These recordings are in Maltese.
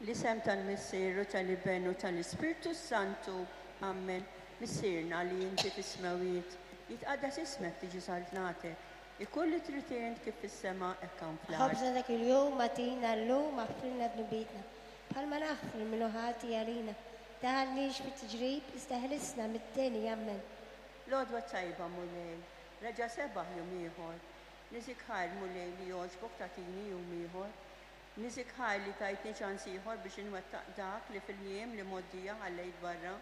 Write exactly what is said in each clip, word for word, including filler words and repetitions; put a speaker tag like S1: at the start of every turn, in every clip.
S1: L-isem tal-Missier u tal-Iben u tal-Ispirtu Santu. Amen. Missierna li inti fis-smewiet, jitqaddas ismek, tiġi saltnatek. Ikun li trid int kif fis-sema hekk hawn fl-art.
S2: Ħobżna ta' kuljum agħtina llum, aħfrilna dnubietna, bħalma naħfru lil min hu ħati għalina. Tdaħħalniex fit-tiġrib, iżda ħlisna mid-deni. Amen.
S1: L-għodwa tajba, Mulej, reġa' sebaħ jum ieħor. Niżżik ħajr, Mulej, li jogħġbok tagħtini jum ieħor. Niżżik ħajr li tajtni ċans ieħor biex inwettaq dak li fil-jiem li mgħoddija ħallejt barra.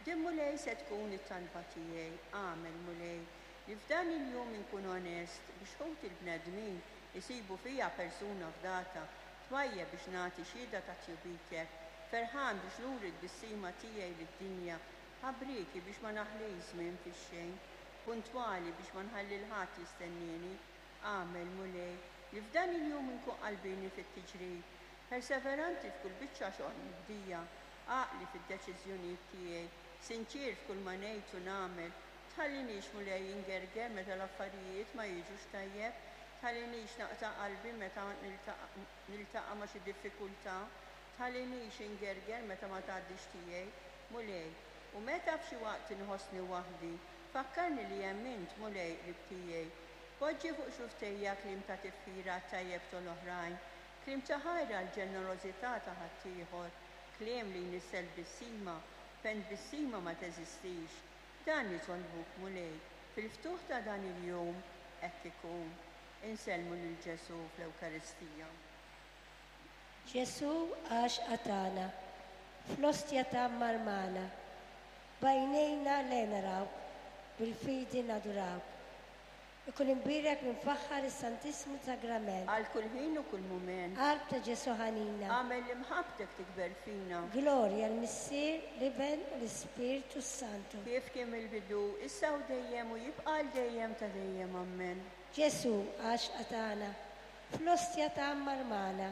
S1: Din, Mulej, se tkun it-talba tiegħi. Agħmel, Mulej, li f'dan il-jum inkun onest biex ħuti l-bnedmin isibu fija persuna fdata, twajjeb biex nagħti xhieda ta' tjubitek, ferħan biex nuri t-tbissima tiegħi lid-dinja, ħabrieki biex ma naħlix żmien fix-xejn, puntwali biex ma nħalli 'l ħadd jistennieni. Agħmel, Mulej, li f'dan il-jum inkun qalbieni fit-tiġrib, perseveranti f'kull biċċa xogħol mibdija, għaqli fid-deċiżjonijiet tiegħi, sinċier f'kull ma ngħid u nagħmel. Tħallinix, Mulej, ingerger meta l-affarijiet ma jiġux tajjeb, tħallinix naqta' qalbi meta niltaqa' ma' xi diffikultà, tħallinix ingerger meta ma tgħaddix tiegħi, Mulej. U meta f'xi waqt inħossni waħdi, fakkarni li hemm int, Mulej, qrib tiegħi. Poġġi fuq xufftejja kliem ta' tifħira tajjeb tal-oħrajn, kliem ta' ħajr għall-ġenerożità ta' ħaddieħor, kliem li jnissel tbissima, fejn tbissima ma teżistix. Dan nitolbuk, Mulej, fil-ftuħ ta' dan il-jum hekk ikun. Insellmu lil Ġesù fl-Ewkaristija.
S2: Ġesù għaxqa tagħna, fl-ostja tgħammar magħna, b'għajnejna le narawk, bil-fidi nadurawk. Ikun imbierek u mfaħħar is-Santissmu Sagrament.
S1: Għal kull ħin u kull mument.
S2: Qalb ta' Ġesù ħanina.
S1: Agħmel li mħabbtek tikber fina.
S2: Glorja l-Missier, l-Iben u l-Ispirtu Santu.
S1: Kif kien mill-bidu, issa u dejjem u jibqa' għal dejjem ta' dejjem. Amen.
S2: Ġesù għaxqa tagħna, fl-ostja tgħammar magħna,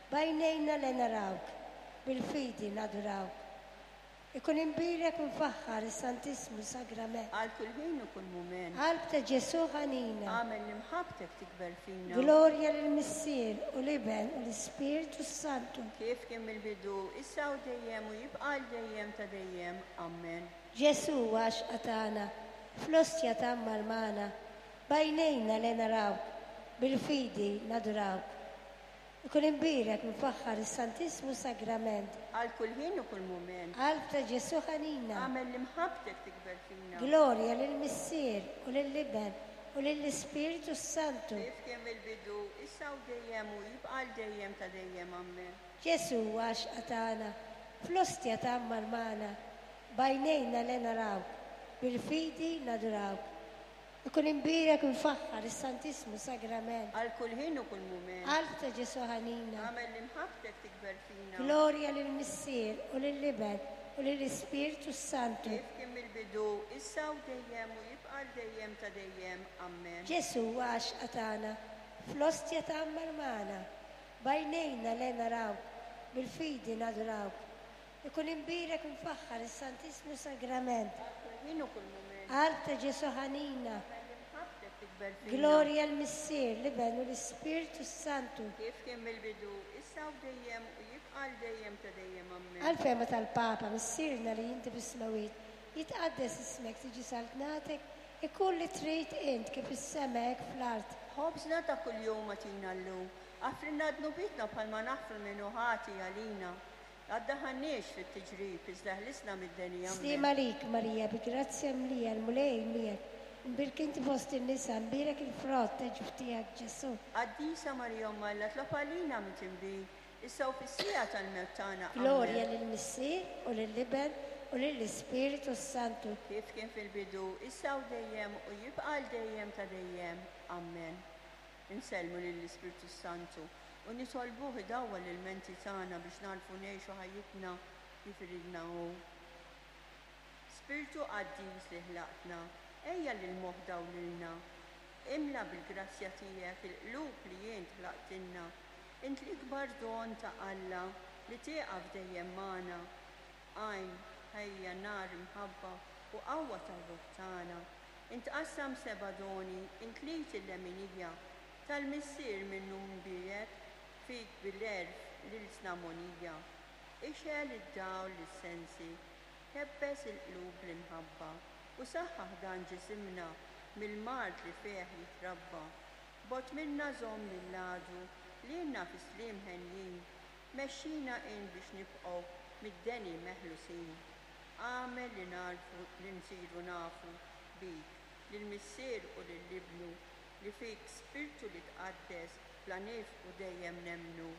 S2: b'għajnejna le narawk, bil-fidi nadurawk. Ikun imbierek u mfaħħar is-Santissmu Sagrament.
S1: Għal kull ħin u kull mument.
S2: Qalb ta' Ġesù ħanina.
S1: Agħmel li mħabbtek tikber fina.
S2: Glorja lill-Missier u l-Iben u l-Ispirtu Santu.
S1: Kif kien mill-bidu, issa u dejjem u jibqa' għal dejjem ta' dejjem. Amen.
S2: Ġesù għaxqa tagħna, fl-ostja tgħammar magħna, b'għajnejna le narawk, bil-fidi nadurawk. Ikun imbierek mfaħħar is-Santissmu Sagrament.
S1: Għal kull ħin u kull mument.
S2: Qalb ta' Ġesù ħanina.
S1: Agħmel li mħabbtek tikber fina.
S2: Glorja lill-Missier u lill-Iben u lill-Ispirtu Santu.
S1: Kif kien mill-bidu, issa u dejjem u jibqa' għal dejjem ta' dejjem. Amen.
S2: Ġesù għaxqa tagħna, fl-ostja tgħammar magħna, b'għajnejna le narawk, bil-fidi nadurawk. Ikun imbierek mfaħħar is-Santissmu Sagrament.
S1: Għal kull ħin u kull mument.
S2: Qalb ta' Ġesù ħanina.
S1: Agħmel li mħabbtek tikber fina.
S2: Glorja lill-Missier u lill-Iben u lill-Ispirtu Santu.
S1: Kif kien mill-bidu, issa u dejjem u jibqa' għal dejjem ta' dejjem. Amen.
S2: Ġesù għaxqa tagħna, fl-ostja tgħammar magħna, b'għajnejna le narawk, bil-fidi nadurawk. Ikun imbierek mfaħħar is-Santissmu Sagrament.
S1: Għal kull ħin u kull mument.
S2: Qalb ta' Ġesù ħanina.
S1: Agħmel li mħabbtek tikber fina.
S2: Glorja l-Missier, l-Iben u l-Ispirtu Santu.
S1: Kif kien mill-bidu, issa u dejjem u jibqa' għal dejjem ta' dejjem. Amen.
S2: Għall-fehma tal-Papa, Missierna li inti fis-smawiet, jitqaddes ismek, tiġi saltnatek, ikun li trid int kif is-sema hekk fl-art.
S1: Ħobżna ta' kuljum agħtina llum, aħfrilna dnubietna bħalma naħfru min hu ħati għalina. La ddaħħalniex fit-tiġrib, iżda ħlisna mid-deni. Amen.
S2: Slim għalik, Marija, bi grazzja mlija, l-Mulej miegħek. Imbierka inti fost in-nisa, imbierek il-frott ta' ġuf tiegħek, Ġesù.
S1: Qaddisa Marija Omm Alla, itlob għalina midinbin, issa u fis-siegħa tal-mewt tagħna. Amen.
S2: Glorja lill-Missier u lill-Iben u lill-Ispirtu Santu.
S1: Kif kien fil-bidu, issa u dejjem u jibqa' għal dejjem ta' dejjem. Amen. Insellmu lill-Ispirtu Santu u nitolbuh idawwal il-menti tagħna biex nagħrfu ngħixu ħajjitna kif iridna hu. Spirtu qaddis li ħlaqtna, ejja lil moħħ dawlilna. Imla bil-grazzja tiegħek il-qlub li int ħlaqtilna. Int l-ikbar don ta' Alla li tieqaf dejjem magħna. Għajn, ħajja, nar, imħabba u qawwa tar-ruħ tagħna. Int qassam seba' doni, int l-id il-leminija tal-Missier minnu mbierek, fik bil-għerf l-ilsna mogħnija, ixgħel id-dawl lis-sensi, kebbes il-qlub bl-imħabba, u saħħaħ dan ġisimna mill-mard li fih jitrabba. Bogħod minna żomm lill-għadu, lilna fi sliem henjin, mexxina in biex nibqgħu mid-deni meħlusin. Agħmel li narfu li nsiru nafu bik, lill-Missier u lil Ibnu, li fik Spirtu li tqaddes bla nifqu dejjem nemmnu.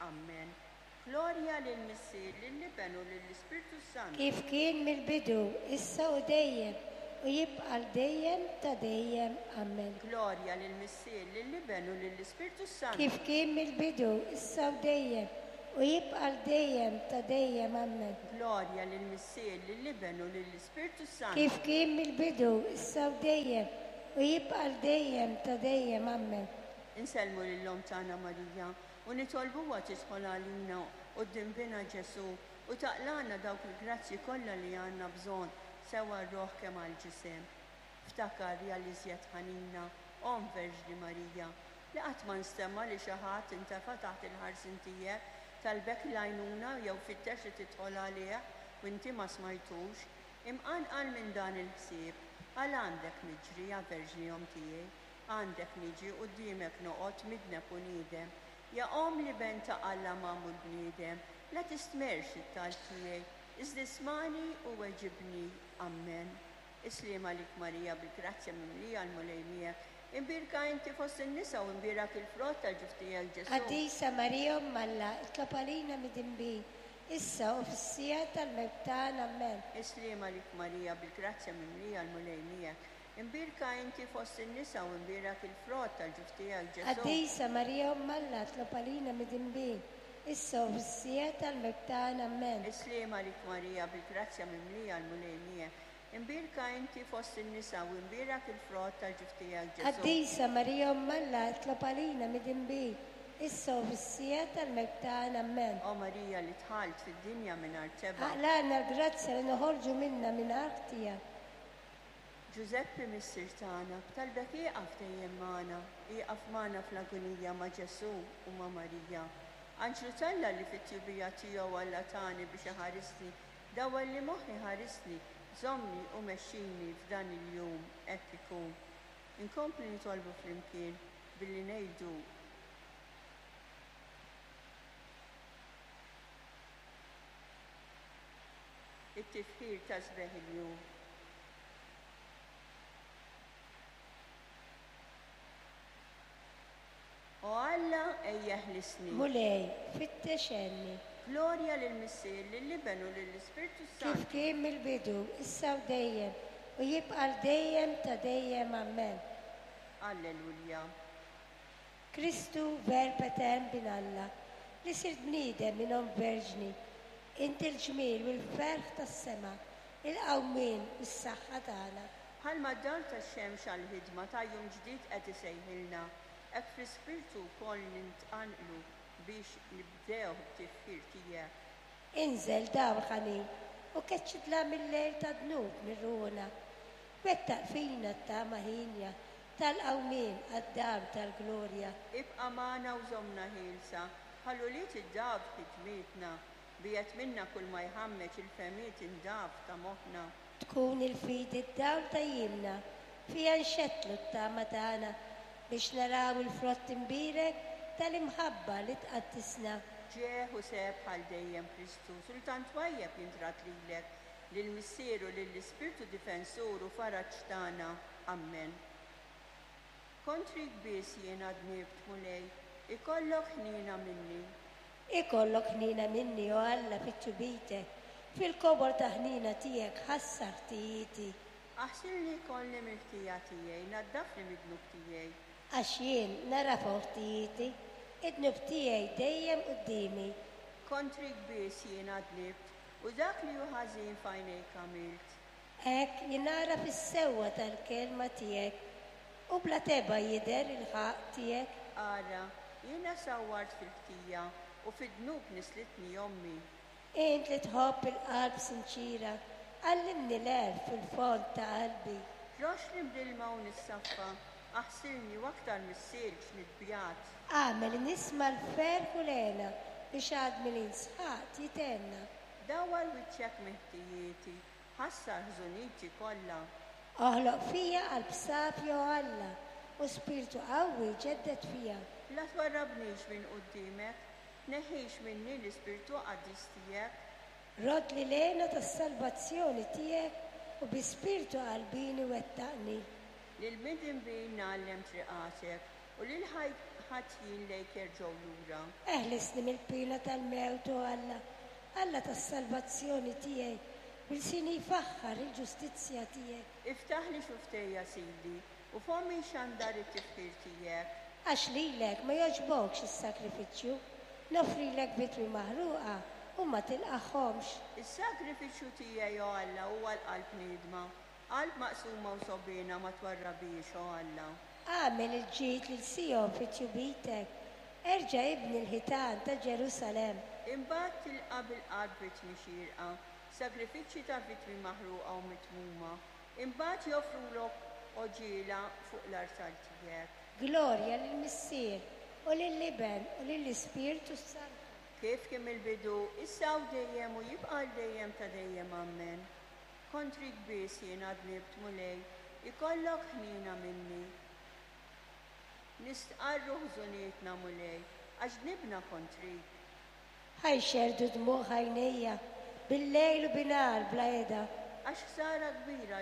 S1: Amen. Glorja lill-Missier, lill-Iben u lill-Ispirtu Santu.
S2: Kif kien mill-bidu, issa u dejjem, u jibqa' l dejjem ta' dejjem. Amen.
S1: Glorja lill-Missier, lill-Iben u lill-Ispirtu Santu.
S2: Kif kien mill-bidu, issa u dejjem, u jibqa' l dejjem ta' dejjem. Amen.
S1: Glorja lill-Missier, lill-Iben u lill-Ispirtu Santu.
S2: Kif kien mill-bidu, issa u dejjem, u jibqa' l dejjem ta' dejjem. Amen.
S1: Insellmu lil-Omm tagħna Marija u nitolbuha tidħol għalina quddiem Binha Ġesù u taqlagħna dawk il-grazzji kollha li għandna bżonn sew għar-ruħ kemm għall-ġisem. Ftakar ja l-iżjed ħanina, Omm Verġni Marija, li qatt ma nstema' li xi ħadd intefa' taħt il-ħarsien tiegħek, talbek l-għajnuna jew fittex li tidħol għalih u inti ma smajtux, imqanqal minn dan il-ħsieb, għal għandek niġri ja Verġni Omm tiegħi, għandek niġi quddiemek noqgħod midneb u niedem. Ja Omm li ben ta' Alla magħmul bniedem, la tistmerx it-talb tiegħi, iżda ismagħni u weġibni. Amen. Is-sliem għalik Marija, bil-grazzja mimlija l-Mulej miegħek. Imbierka inti fost in-nisa u imbierak il-frott tal-ġuf tiegħek Ġesù.
S2: Qaddisa Marija Omm Alla, itlob għalina midinbin, issa u fis-siegħa tal-mewt tagħna. Amen.
S1: Is-sliem għalik Marija, bil-grazzja mimlija l-Mulej miegħek. Imbierka inti fost in-nisa u imbierak il-frott tal-ġuf tiegħek Ġesù.
S2: Qaddisa Marija Omm Alla, itlob għalina midinbin, issa u fis-siegħa tal-mewt tagħna. Amen.
S1: Is-sliem għalik Marija, bil-grazzja mimlija l-Mulej miegħek. Imbierka inti fost in-nisa u imbierak il-frott tal-ġuf tiegħek Ġesù.
S2: Qaddisa Marija Omm Alla, itlob għalina midinbin, issa u fis-siegħa tal-mewt tagħna. Amen.
S1: O Marija li dħalt fid-dinja mingħajr tebgħa.
S2: Aqlagħna l-grazzja li noħorġu minna mingħajr ħtija.
S1: Ġużeppi Missier tagħna, b'talbek ieqaf dejjem magħna, ieqaf magħna fl-agonija ma' Ġesù u ma' Marija. Anġlu t'Alla li fit-tjubija tiegħu Alla tani biex iħarisni, dawwal li moħħi ħarisni, żommni u mexxini f'dan il-jum hekk ikun. Inkompli nitolbu flimkien billi ngħidu it-tifħir ta' sbieħ il-jum. O Alla, ejja ħlisni.
S2: Mulej, fittex għenni.
S1: Glorja lill-Missier, lill-Iben u lill-Ispirtu Santu.
S2: Kif kien mill-bidu, issa u dejjem, u jibqa' l dejjem ta' dejjem. Amen.
S1: Alleluja.
S2: Kristu Verb etern bin Alla, li sirt bniedem minn Omm Verġni, inti l-ġmiel u l-ferħ tas-sema, il-qawmien u s-saħħa tagħna.
S1: Bħalma d-dawl tax-xemx għall-ħidma ta' jum ġdid qed isejħilna, hekk fl-ispirtu wkoll nintqanqlu biex nibdew b'tifħir tiegħek.
S2: Inżel dawl ħanin u keċċidla mill-lejl ta' dnub mir-ruħna. Wettaq fina t-tama ħinja tal-qawmien għad-dam tal-glorja.
S1: Ibqa' magħna u żommna ħielsa, bħal ulied id-daf ħidmietna, biegħed minna kull ma jħammeġ il-fehmiet indaf ta' moħħna.
S2: Tkun il-fidi d-dawl ta' jiemna, fija nxettlu t-tama tagħna biex naraw il-frott imbierek tal-imħabba li tqaddisna.
S1: Ġieħ u seb bħal dejjem Kristu, sultan twajjeb jintrat lilek, lill-Missier u lill-Ispirtu difensur u faraġ tagħna. Amen. Kontrik biss jiena dnibt, Mulej, ikollok ħniena minni.
S2: Ikollok ħniena minni, o Alla, fit-tubitek, fil-kobor ta' ħniena tiegħek ħassar ħtijieti.
S1: Aħsilni kolli mill-ħtija tiegħi, naddafni mid-dnub tiegħi.
S2: Għax jien nara ħtijieti, id-dnub tiegħi dejjem quddiemi.
S1: Kontrik biss jiena dnibt, u dak li hu ħażin f'għajnejk għamilt.
S2: Hekk jien nara fis-sewwa tal-kelma tiegħek, u bla tebgħa jidher il-ħaqq tiegħek.
S1: Ara, jiena sawwart fil-ħtija u fid-dnub nislitni ommi.
S2: Int li tħobb il-qalb sinċira, għallimni l-għerf fil-fond ta' qalbi.
S1: Roxni bl-ilma u nissaffa, aħsilni u aktar mis-silġ nitbjat.
S2: Agħmel nisma' l-ferħ u l-hena biex għadmi li nsħaqt jithenna.
S1: Dawwar wiċċek minn ħtijieti, ħassar ħżuniti kollha.
S2: Oħloq fija qalb safja, o Alla, u spirtu qawwi ġedded fija.
S1: La twarrabnix minn quddiemek, tneħħix minni l-ispirtu qaddis tiegħek.
S2: Roddli l-hena tas-salvazzjoni tiegħek u bi spirtu qalbieni wettaqni.
S1: Lill-midinbin ngħallem triqatek u lil ħatjin lejk jerġgħu lura.
S2: Eħlisni mill-pina tal-mewt, o Alla, Alla tas-salvazzjoni tiegħi, u lsini jfaħħar il-ġustizzja tiegħek.
S1: Iftaħli xufftejja, Sidi, u fommi xandar it-tifħir tiegħek.
S2: Għax lilek ma jogħġbokx is-sakrifiċċju, noffrilek vittmi maħruqa u ma tilqagħhomx.
S1: Is-sakrifiċċju tiegħi, o Alla, huwa l-qalb niedma, qalb maqsuma u sogħbiena ma twarrabhiex, o Alla.
S2: Agħmel il-ġid lil Sijon fi tjubitek, erġa' ibni l-ħitan ta' Ġerusalemm.
S1: Imbagħad tilqa' bil-qalb vittmi xierqa, sagrifiċċji ta' vittmi maħruqa u mitmuma. Imbagħad joffrulok għoġiela fuq l-artal tiegħek.
S2: Glorja lill-Missier u lill-Iben u lill-Ispirtu Santu.
S1: Kif kien mill-bidu, issa u dejjem u jibqa' għal dejjem ta' dejjem, amen. Kontrik biss jiena dnibt, Mulej, ikollok ħniena minni. Nistqarru ħżunietna, Mulej, għax dnibna kontrik.
S2: Ħa jxerrdu dmugħ għajnejja bil-lejl u binhar bla heda.
S1: Għax ħsara kbira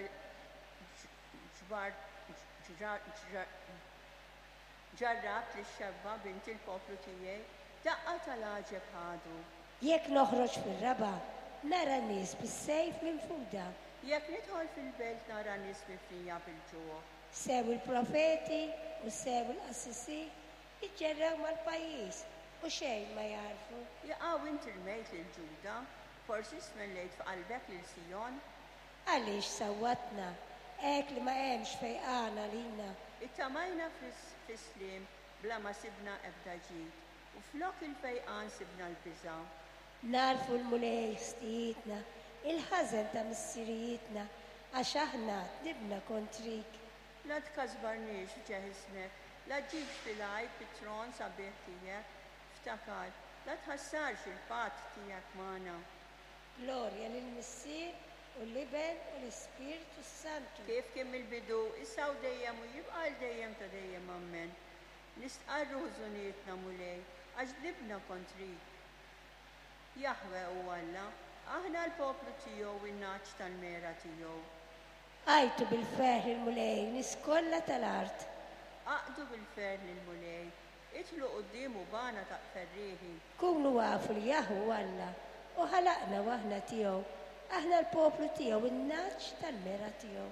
S1: ġbar ġarrabt lix-xebba bint il-poplu tiegħi, daqqa tal-għaġeb ħadu.
S2: Jekk noħroġ fir-raba', nara nies bis-sejf minfuda.
S1: Jekk nidħol fil-belt nara nies mifnija bil-ġuħ.
S2: Sew il-profeti u sew il-qassisin jiġġerrew mal-pajjiż u xejn ma jagħrfu.
S1: Jaqaw inti rmejt lil Ġuda, forsi smellejt f'qalbek lil Sijon.
S2: Għaliex sawwatna, hekk li ma hemmx fejqan għalina.
S1: Ittamajna fis-sliem bla ma sibna ebda ġid, u flok il-fejqan sibna l-biża'.
S2: Nagħrfu l-Mulej ħtijietna, il-ħażen ta' missirijietna, għax aħna dnibna kontrik.
S1: La tkasbarniex f'ġieħ ismek, la ġġibx fil-għajb it-tron sabiħ tiegħek, ftakar, la tħassarx il-patt tiegħek magħna.
S2: Glorja lill-Missier u l-Iben u l-Ispirtu Santu.
S1: Kif kien mill-bidu, issa u dejjem u jibqa' għal dejjem ta' dejjem, amen. Nistqarru ħżunietna, Mulej, għax dnibna kontrik. Jaħwe hu Alla, aħna l-poplu tiegħu u n-nagħaġ tal-mergħa tiegħu.
S2: Għajtu bil-ferħ il-Mulej, nies kollha tal-art.
S1: Aqdu bil-ferħ lill-Mulej, idħlu quddiemu b'għana ta' ferrieħi.
S2: Kunu afu li Jaħwe hu Alla, u ħalaqna u aħna tiegħu, aħna l-poplu tiegħu, in-nagħaġ tal-mergħa tiegħu.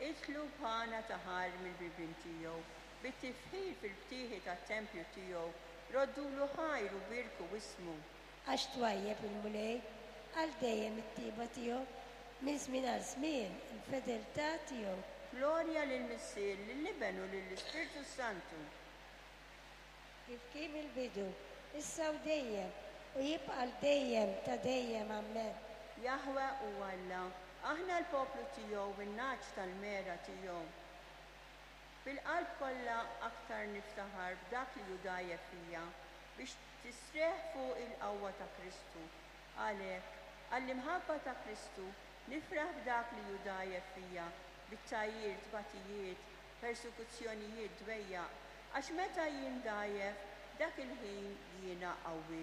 S1: Idħlu b'għana ta' ħajr mill-bibien tiegħu, bit-tifħir fil-btieħi tat-tempju tiegħu, roddulu ħajr u bierku ismu.
S2: Għax twajjeb il-Mulej, għal dejjem it-tiba tiegħu, minn żmien għal żmien il-fedeltà tiegħu.
S1: Glorja lill-Missier, lill-Iben u lill-Ispirtu Santu.
S2: Kif kien il-bidu, issa u dejjem, u jibqa' għal dejjem ta' dejjem, amen.
S1: Jaħwe hu Alla, aħna l-poplu tiegħu u n-nagħaġ tal-mergħa tiegħu. Bil-qalb kollha aktar niftaħar b'dak li hu dgħajjef fija, biex tistrieħ fuq il-qawwa ta' Kristu. Għalhekk, għall-imħabba ta' Kristu, nifraħ b'dak li hu dgħajjef fija, bit-tgħajjir, tbatijiet, persekuzzjonijiet, dwejjaq, għax meta jien dgħajjef, dak il-ħin jiena qawwi.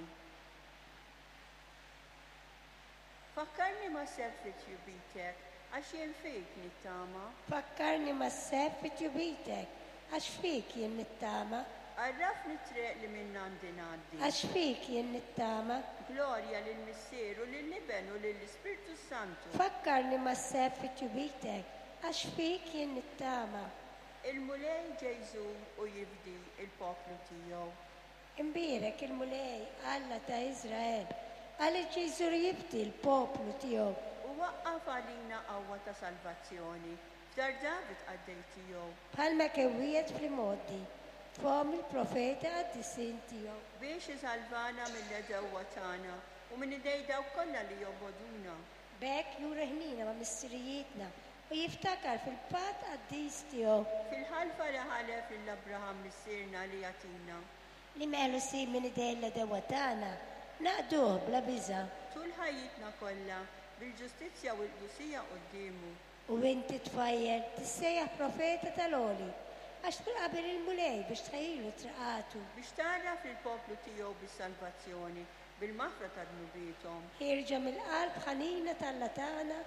S1: Fakkarni ma' sebħ fi tjubitek, għax jien fik nittama.
S2: Fakkarni ma' sebħ fi tjubitek, għax fik jien nittama.
S1: Għarrafni t-triq li minn għandi ngħaddi.
S2: Għax fik jien nittama.
S1: Glorja lill-Missier u lill-Iben u lill-Ispirtu Santu.
S2: Fakkarni ma' sebħ fi tjubitek, għax fik jien nittama.
S1: Il-Mulej ġej iżur u jifdi il-poplu tiegħu.
S2: Imbierek il-Mulej, Alla ta' Iżrael, għaliex ġej iżur jifdi l-poplu tiegħu.
S1: U waqqaf għalina qawwa ta' salvazzjoni, f'dar David qaddej tiegħu.
S2: Bħalma kewwiet fl-imgħoddi, fom il-profeta qaddisin tiegħu.
S1: Biex isalvana mill-għedewwa tagħna u minn idej dawk kollha li jobogħduna.
S2: B'hekk juri ħnina ma' missirijietna u jiftakar fil-patt qaddis tiegħu.
S1: Fil-ħalfa li ħalef lil Abraham missierna li jagħtina.
S2: Li meħlusin minn idej l-għedewwa tagħna naqduh bla biża'.
S1: Tul ħajjitna kollha, bil-ġustizzja u l-qdusija quddiemu.
S2: U inti tfajjel tissejjaħ profeta tal-Għoli, għax tkun qabel il-Mulej biex tħejjilu triqatu.
S1: Biex tgħarraf lill-poplu tiegħu bis-salvazzjoni, bil-maħfra ta' dnubiethom.
S2: Ħierġa mill-qalb ħanina t'Alla tagħna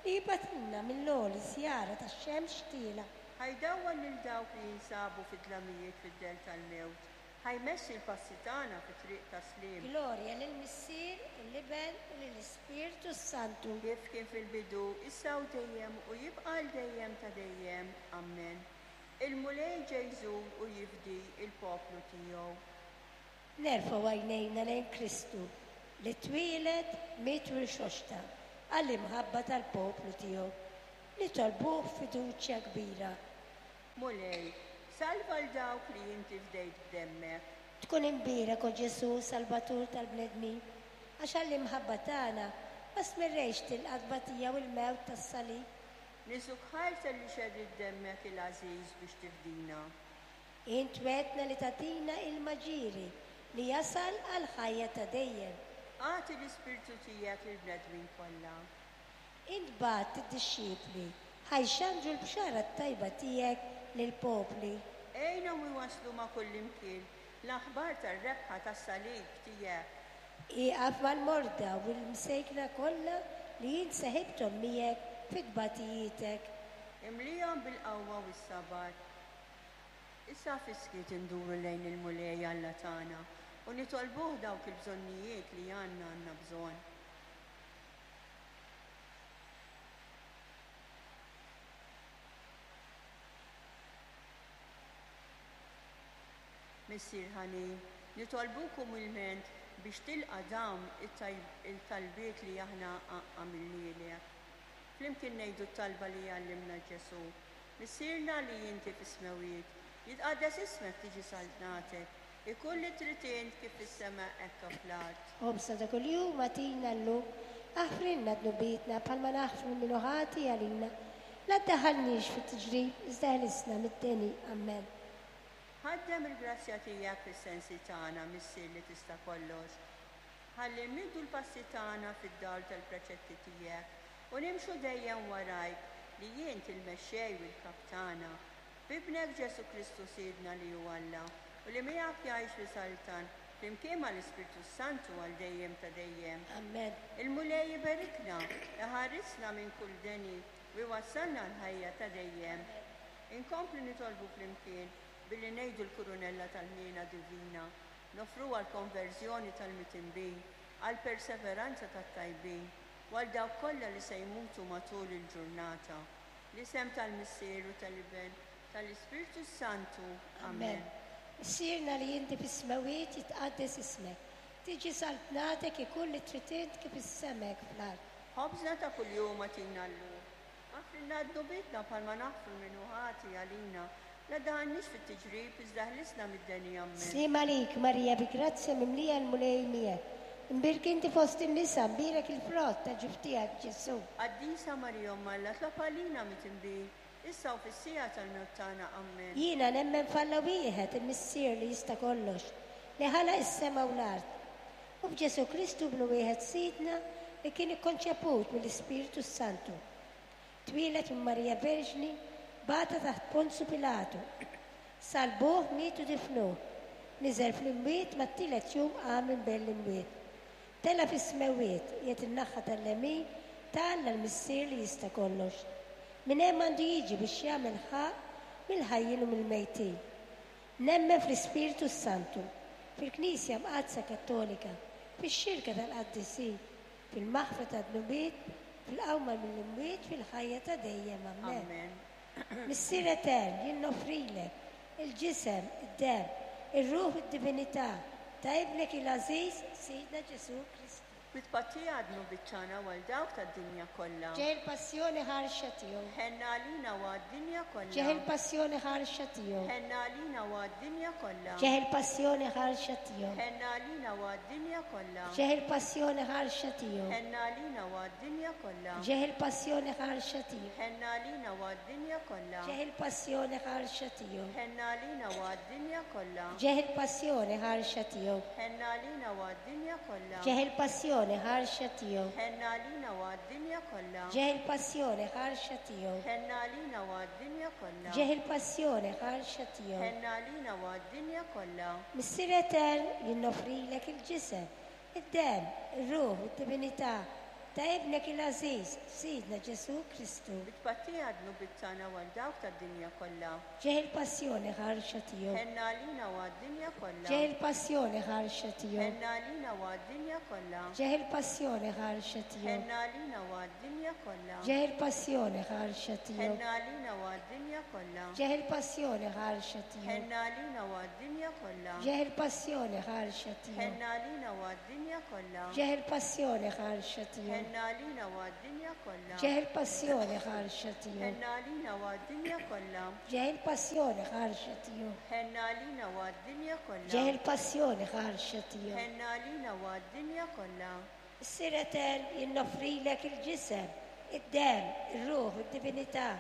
S2: li jibgħatilna mill-għoli żjara tax-xemx tiela.
S1: Ħa jdawwal lil dawk li jinsabu fid-dlamijiet fid-dell tal-mewt, ħa jmexxi l-passi tagħna fit-triq ta' sliem.
S2: Glorja lill-Missier u l-Iben u lill-Ispirtu Santu.
S1: Kif kien fil-bidu, issa u dejjem u jibqa' għal dejjem ta' dejjem. Amen. Il-Mulej ġej jżur u jifdi il-poplu tiegħu.
S2: Nerfgħu għajnejna lejn Kristu li twieled, miet u rxoxta għall-imħabba tal-poplu tiegħu. Nitolbuh fiduċja kbira.
S1: Mulej, salva 'l dawk li inti fdejt b'demmek.
S2: Tkun imbierek, o Ġesu, Salvatur tal-bnedmin, għax għall-imħabba tagħna ma stmerrejtx tilqa' t-tbatija u l-mewt tas-salib.
S1: Niżżuk ħajr talli xerridt demmek il-għażiż biex tifdina.
S2: Int wegħedtna li tagħtina ilma ġieri li jasal għal ħajja ta' dejjem.
S1: Agħti l-Ispirtu tiegħek lill-bnedmin kollha.
S2: Int bgħatt id-dixxipli ħa jxandru l-bxara t-tajba tiegħek lill-popli.
S1: Għinhom iwasslu ma' kullimkien l-aħbar tar-rebħa tas-salib tiegħek.
S2: Ieqaf mal-morda u l-msejkna kollha li int seħibthom miegħek fit-tbatijietek.
S1: Imlihom bil-qawwa u s-sabar. Issa fis-skiet induru lejn il-Mulej Alla tagħna u nitolbuh dawk il-bżonnijiet li għandna għandna bżonn. Missier ħanin, nitolbuk umilment biex tilqa' dawn il-talbiet li aħna għamilnielek. Flimkien ngħidu t-talba li għallimna Ġesu. Missierna li inti fis-smewwiet, jitqaddes ismek, tiġi saltnatek, ikun li trid int kif fis-sema hekk fl-art.
S2: Ħobżna ta' kuljum agħtina llum, aħfrilna dnubietna bħalma naħfru min hu ħati għalina. La ddaħħalniex fit-tiġrib, iżda ħlisna mid-deni. Amen.
S1: Ħaddem il-grazzja tiegħek fis-sensi tagħna, Missier li tista' kollox. Ħalli mmiddu l-passi tagħna fid-dawl tal-preċetti tiegħek u nimxu dejjem warajk li int il-mexxej u l-kap tagħna. B'Ibnek Ġesu Kristu Sidna li hu Alla u li miegħek jgħix u jsaltan flimkien mal-Ispirtu Santu għal dejjem ta' dejjem.
S2: Amen.
S1: Il-Mulej iberikna, iħarisna minn kull deni u jwassalna l-ħajja ta' dejjem. Inkomplu nitolbu flimkien billi ngħidu l-kurunella tal-ħniena divina, nofru għall-konverżjoni tal-mitinbin, għall-perseveranza tat-tajbin, u għal dawk kollha li se jmutu matul il-ġurnata. L-isem tal-Missier u tal-Iben, tal-Ispirtu Santu. Amen.
S2: Missierna li inti fis-smewwiet, jitqaddes ismek. Tiġi saltnatek, ikun li trid int kif fis-sema hekk fl-art.
S1: Ħobżna ta' kuljum agħtina llum. Aħfrilna dnubietna bħalma naħfru min hu ħati għalina. La ddaħħalniex fit-tiġrib, iżda ħlisna mid-deni. Amen.
S2: Sliem għalik, Marija, bi grazzja mimlija, l-Mulej miegħek. Imbierka inti fost in-nisa, mbierek il-frott ta' ġuf tiegħek, Ġesu.
S1: Qaddisa Marija Omm Alla, itlob għalina midinbin, issa u fis-siegħa tal-mewt tagħna. Amen.
S2: Jiena nemmen f'Alla wieħed, il-Missier li jista' kollox, li ħalaq is-sema u l-art. U f'Ġesu Kristu Ibnu wieħed Sidna li kien ikkonċeput mill-Ispirtu Santu. Twieled minn Marija Verġni, bata taħt Ponzu Pilatu. Salbuh, miet u difnuh. Niżel fl-imwiet, mat-tielet jum qam minn bejn l-imwiet. Tela' fis-smewwiet, qiegħed in-naħa tal-lemin ta' Alla l-Missier li jista' kollox. Minn hemm għandu jiġi biex jagħmel ħaqq mill-ħajjin u mill-mejtin. Nemmen fl-Ispirtu Santu, fil-Knisja Mqaddsa Kattolika, fix-xirka tal-qaddisin, fil-maħfra tad-dnubiet, fil-qawma mill-imwiet, fil-ħajja ta' dejjem. Amen.
S1: Amen.
S2: Missier etern, jien noffrilek il-ġisem, id-dem, ir-ruħ u d-divinità ta' ibnek il-għażiż Sidna Ġesu Kristu.
S1: Bi tpattija għad-dnubiet tagħna u għal dawk tad-dinja kollha.
S2: Ġieħ il-passjoni ħarxa tiegħu.
S1: Ħenn għalina u għad-dinja kollha.
S2: Ġieħ il-passjoni ħarxa tiegħu.
S1: Ħenn għalina u għad-dinja kollha.
S2: Ġieħ il-passjoni ħarxa tiegħu.
S1: Ħenn għalina u għad-dinja kollha.
S2: Ġieħ il-passjoni ħarxa tiegħu.
S1: Ħenn għalina u għad-dinja kollha.
S2: Ġieħ il-passjoni ħarxa tiegħu.
S1: Ħenn għalina u għad-dinja kollha.
S2: Ġieħ il-passjoni ħarxa tiegħu.
S1: Ħenn għalina u għad-dinja kollha.
S2: Ġieħ il-passjoni ħarxa tiegħu.
S1: Ħenn għalina u għad-dinja kollha.
S2: Ġieħ il-passjoni ħarxa tiegħu.
S1: Ħenn għalina u għad-dinja kollha.
S2: Ġieħ il-passjoni ħarxa tiegħu.
S1: Ħenn għalina u għad-dinja kollha.
S2: Ġieħ il-passjoni ħarxa tiegħu.
S1: Ħenn għalina u għad-dinja kollha.
S2: Missier etern, jien noffrilek il-ġisem, id-demm, ir-ruħ u d-divinità ta' ibnek il-għażiż, Sidna Ġesù Kristu.
S1: Bi tpattija għad-dnubiet tagħna u għal dawk tad-dinja kollha.
S2: Ġieħ il-passjoni ħarxa tiegħu.
S1: Ħenn għalina u għad-dinja kollha.
S2: Ġieħ il-passjoni ħarxa tiegħu.
S1: Ħenn għalina u għad-dinja kollha.
S2: Ġieħ il-passjoni ħarxa tiegħu.
S1: Ħenn għalina u għad-dinja kollha.
S2: Ġieħ il-passjoni ħarxa tiegħu.
S1: Ħenn għalina u għad-dinja kollha.
S2: Ġieħ il-passjoni ħarxa tiegħu.
S1: Ħenn għalina u għad-dinja kollha.
S2: Ġieħ il-passjoni ħarxa tiegħu.
S1: Ħenn għalina u għad-dinja kollha.
S2: Ġieħ il-passjoni ħarxa tiegħu.
S1: Ħenn għalina u għad-dinja kollha.
S2: Ġieħ il-passjoni ħarxa tiegħu.
S1: Ħenn għalina u għad-dinja kollha.
S2: Ġieħ il-passjoni ħarxa tiegħu.
S1: Ħenn għalina u għad-dinja kollha.
S2: Ġieħ il-passjoni ħarxa tiegħu.
S1: Ħenn għalina u għad-dinja kollha.
S2: Missier etern, jien noffrilek il-ġisem, id-demm, ir-ruħ u d-divinità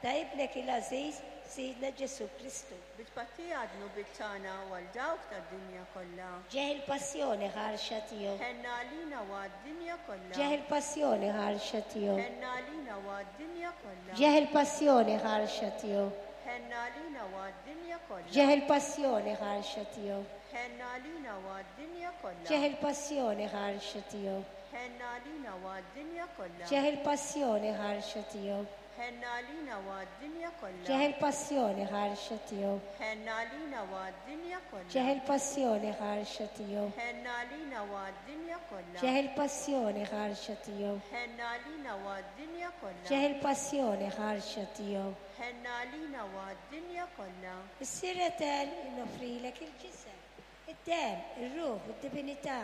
S2: ta' ibnek il-għażiż, Sidna Ġesù Kristu.
S1: Bi tpattija għad-dnubiet tagħna u għal dawk tad-dinja kollha.
S2: Ġieħ il-passjoni ħarxa tiegħu.
S1: Ħenn għalina u għad-dinja kollha.
S2: Ġieħ il-passjoni ħarxa tiegħu.
S1: Ħenn għalina u għad-dinja kollha.
S2: Ġieħ il-passjoni ħarxa tiegħu.
S1: Ħenn għalina u għad-dinja kollha.
S2: Ġieħ il-passjoni ħarxa tiegħu.
S1: Ħenn għalina u għad-dinja kollha.
S2: Ġieħ il-passjoni ħarxa tiegħu.
S1: Ħenn għalina u għad-dinja kollha.
S2: Ġieħ il-passjoni ħarxa tiegħu.
S1: Ħenn għalina u għad-dinja kollha.
S2: Ġieħ il-passjoni ħarxa tiegħu.
S1: Ħenn għalina u għad-dinja kollha.
S2: Ġieħ il-passjoni ħarxa tiegħu.
S1: Ħenn għalina u għad-dinja kollha.
S2: Ġieħ il-passjoni ħarxa tiegħu.
S1: Ħenn għalina u għad-dinja kollha.
S2: Ġieħ il-passjoni ħarxa tiegħu.
S1: Ħenn għalina u għad-dinja kollha.
S2: Missier etern, jien noffrilek il-ġisem, id-demm, ir-ruħ u d-divinità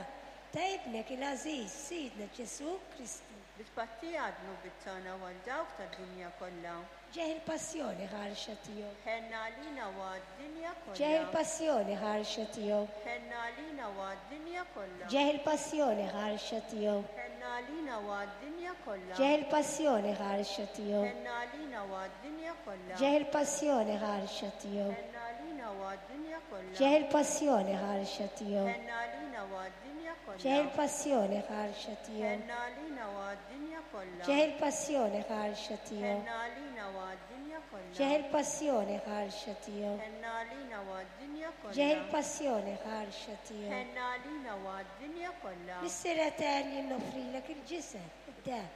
S2: ta' ibnek il-għażiż, Sidna Ġesù Kristu.
S1: Bi tpattija għad-dnubiet tagħna u għal dawk tad-dinja kollha.
S2: Ġieħ il-passjoni ħarxa tiegħu.
S1: Ħenn għalina u għad-dinja kollha.
S2: Ġieħ il-passjoni ħarxa tiegħu.
S1: Ħenn għalina u għad-dinja kollha.
S2: Ġieħ il-passjoni ħarxa tiegħu.
S1: Ħenn għalina u għad-dinja kollha.
S2: Ġieħ il-passjoni ħarxa tiegħu.
S1: Ħenn għalina u għad-dinja kollha.
S2: Ġieħ il-passjoni ħarxa tiegħu.
S1: Ħenn għalina u għad-dinja kollha.
S2: Ġieħ il-passjoni ħarxa tiegħu.
S1: Ħenn għalina u għad-dinja kollha.
S2: Ġieħ il-passjoni ħarxa tiegħu.
S1: Ħenn għalina u għad-dinja kollha.
S2: Ġieħ il-passjoni ħarxa tiegħu.
S1: Ħenn għalina u għad-dinja kollha.
S2: Ġieħ il-passjoni ħarxa tiegħu.
S1: Ħenn għalina u għad-dinja kollha.
S2: Ġieħ il-passjoni ħarxa tiegħu.
S1: Ħenn għalina u għad-dinja kollha.
S2: Missier etern, jien noffrilek il-ġisem, id-demm,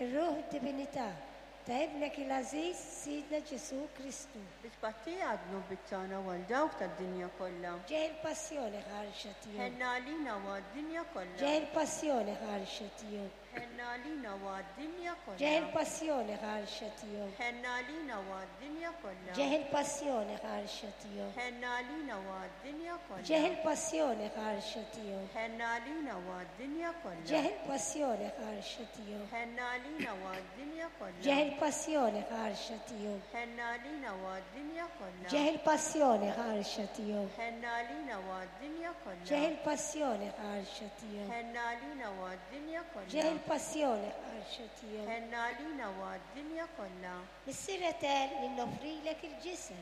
S2: ir-ruħ u d-divinità ta' ibnek il-għażiż, Sidna Ġesù Kristu.
S1: Bi tpattija għad-dnubiet tagħna u għal dawk tad-dinja kollha.
S2: Ġieħ il-passjoni ħarxa tiegħu.
S1: Ħenn għalina u għad-dinja kollha.
S2: Ġieħ il-passjoni ħarxa tiegħu.
S1: Ħenn għalina u għad-dinja kollha.
S2: Ġieħ il-passjoni ħarxa tiegħu.
S1: Ħenn għalina u għad-dinja kollha.
S2: Ġieħ il-passjoni ħarxa tiegħu.
S1: Ħenn għalina u għad-dinja kollha.
S2: Ġieħ il-passjoni ħarxa tiegħu.
S1: Ħenn għalina u għad-dinja kollha.
S2: Ġieħ il-passjoni ħarxa tiegħu.
S1: Ħenn għalina u għad-dinja kollha.
S2: Ġieħ il-passjoni ħarxa tiegħu.
S1: Ħenn għalina u għad-dinja kollha.
S2: Ġieħ il-passjoni ħarxa tiegħu.
S1: Ħenn għalina u għad-dinja kollha.
S2: Ġieħ il-passjoni ħarxa tiegħu.
S1: Ħenn għalina u għad-dinja kollha.
S2: Ġieħ il-passjoni ħarxa tiegħu.
S1: Ħenn għalina u għad-dinja kollha.
S2: Missier etern, jien noffrilek il-ġisem,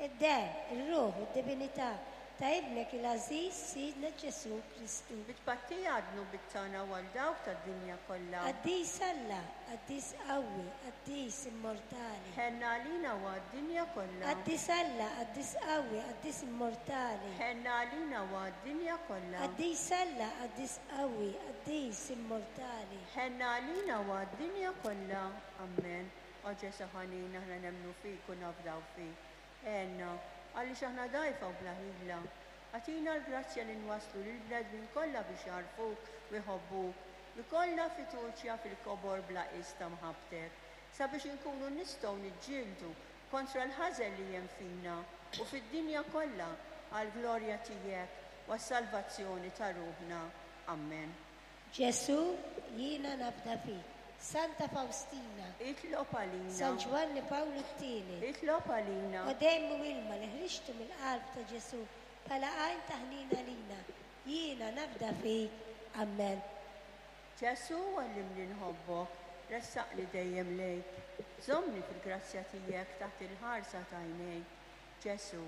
S2: id-demm, ir-ruħ u d-divinità ta' ibnek il-għażiż, Sidna Ġesù Kristu.
S1: Bi tpattija għad-dnubiet tagħna u għal dawk tad-dinja kollha.
S2: Qaddis Alla, qaddis qawwi, qaddis immortali.
S1: Ħenn għalina u għad-dinja kollha.
S2: Qaddis Alla, qaddis qawwi, qaddis immortali.
S1: Ħenn għalina u għad-dinja kollha.
S2: Qaddis Alla, qaddis qawwi, qaddis immortali.
S1: Ħenn għalina u għad-dinja kollha. Amen. O Ġesù ħanin, aħna nemmnu fik u nafdaw fik. Għenna, għaliex aħna dgħajfa u bla ħila. Agħtina l-grazzja li nwasslu lill-bnedmin kollha biex jagħrfuk u jħobbuk, li kollha fiduċja fil-kobor bla qies ta' mħabbtek, sabiex inkunu nistgħu niġġieldu kontra l-ħażen li hemm fina u fid-dinja kollha għall-glorja tiegħek u għas-salvazzjoni ta' ruħna. Amen.
S2: Ġesù, jiena nafda fik. Santa Faustina,
S1: Itlob għalina.
S2: San Ġwanni Pawlu t-tieni,
S1: Itlob għalina.
S2: O demm u ilma li ħriġtu mill-qalb ta' Ġesù bħala għajn ta' ħnina lina, jiena nafda fik. Amen.
S1: Ġesù, għallimni nħobbok, ressaqni dejjem lejk. Żommni fil-grazzja tiegħek taħt il-ħarsa ta' għajnejk. Ġesù,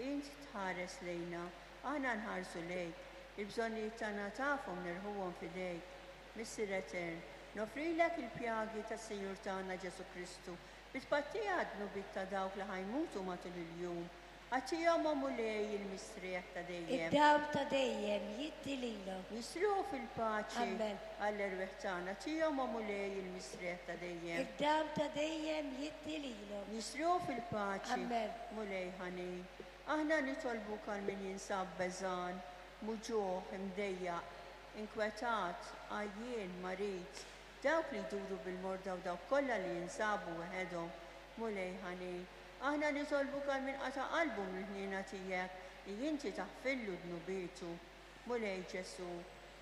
S1: int tħares lejna, aħna nħarsu lejk. Il-bżonnijiet tagħna tafhom nerħuhom f'idejk. Missier Etern, nofrilek il-pjagi tas-Sinjur tagħna Ġesù Kristu bi tpattija għad-dnubiet ta' dawk li ħa jmutu matul il-jum. Agħtihom, o Mulej, il-mistrieħ ta' dejjem.
S2: Id-dawl ta' dejjem jiddi lilhom.
S1: Jistrieħu fil-paċi
S2: Amen.
S1: għall-erwieħ tagħna. Agħtihom, o Mulej, il-mistrieħ ta' dejjem.
S2: Id-dawl ta' dejjem jiddi lilhom.
S1: Jistrieħu fil-paċi.
S2: Amen.
S1: Mulej ħanin. Aħna nitolbuk għal min jinsab beżgħan, muġugħ, imdejjaq, inkwetat, għajjien, marid, dawk li jduru bil-morda u dawk kollha li jinsabu weħedhom. Mulej ħanin. Aħna nitolbuk għal min qata' qalbu mill-ħniena tiegħek li inti taħfirlu dnubietu. Mulej Ġesù,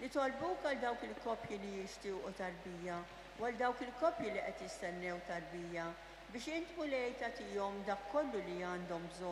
S1: nitolbuk għal dawk il-koppji li jixtiequ tarbija u għal dawk il-koppji li qed jistennew tarbija biex int Mulej tagħtihom dak kollu li għandhom bżonn.